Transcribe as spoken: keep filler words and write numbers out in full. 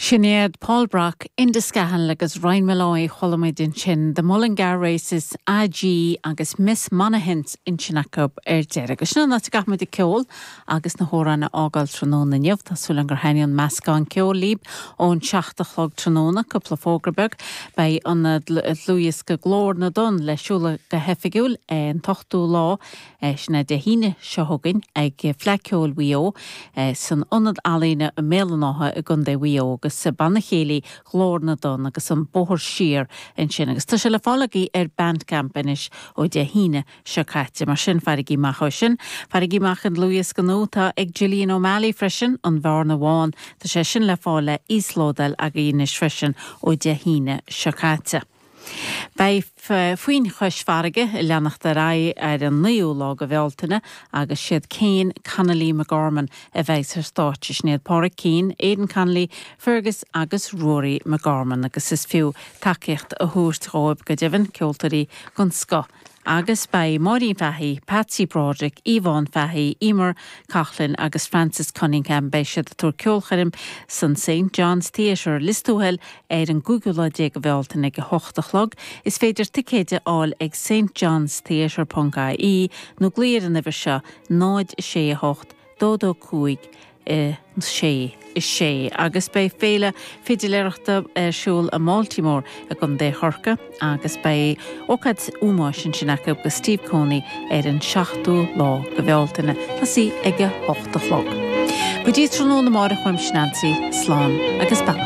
Sin iad Paul Brock, Enda Scahill agus Ryan Molloy chuala muid ansin The Mullingar Races AG agus Miss Monaghan ansin acu ar deireadh. Agus sin an áit a gcaithfimid an ceol agus na hamhráin a fhágáil tráthnóna inniu Tá súil agam gur thaithin an meascán ceoil libh ón seacht a chlog tráthnóna cúpla fógra beag beidh an dlúthdhiosca Glór na dTonn le seoladh go hoifigiúil an t-ochtú lá sin é Dé hAoine seo chugainn ag Fleadh Cheoil Mhaigh Eo san Ionad Ealaíne i mBéal an Átha i gContae Mhaigh Eo agus banna céilí Ghlór na dTonn agus an bóthar siar ansin agus tá sé le fáil agaibh ar Bandcamp anois ó Dé hAoine seo caite mar sin fairigí amach é sin, Fairigí amach an dlúthdhiosca nua atá ag Gillian O'Malley freisin an Bhearna Bhán Tá sé sin le fáil le íoslódáil agaibh anois freisin ó Dé hAoine seo caite. Beidh Foinn Chois Fharraige ag leanacht ar aghaidh ar an naoú lá de Bhealtaine agus siad Kane Connolly McGorman a bheidh ar stáitse sin iad Pádraig Keane, Aidan Connolly, Fergus agus Rory McGorman agus is fiú tacaíocht a thabhairt dóibh go deimhin ceoltóirí den scoth. Agus beidh Máirín Fahey, Patsy Broderick, Yvonne Fahey, Emer Coughlin agus Francis Cunningham beidh siad ag tabhairt ceolchoirm san St John's Theatre Lios Tuathail ar an gcúigiú lá déag de Bhealtaine ag a hocht a chlog, is féidir ticéid a fháil ag St John's Theatre.ie nó glaoigh ar an uimhir seo náid sé a hocht dó dó cúig sé sé agus beidh féile fidiléireachta ar siúl i mBaltimore i gContae Chorcaí agus beidh ócáid ómóis ansin acu do Steve Coney ar an seachtú lá de Bhealtaine tosaí ag a hocht a chlog. Go dtí tráthnóna amárach uaimse Nancy slán agus beannacht.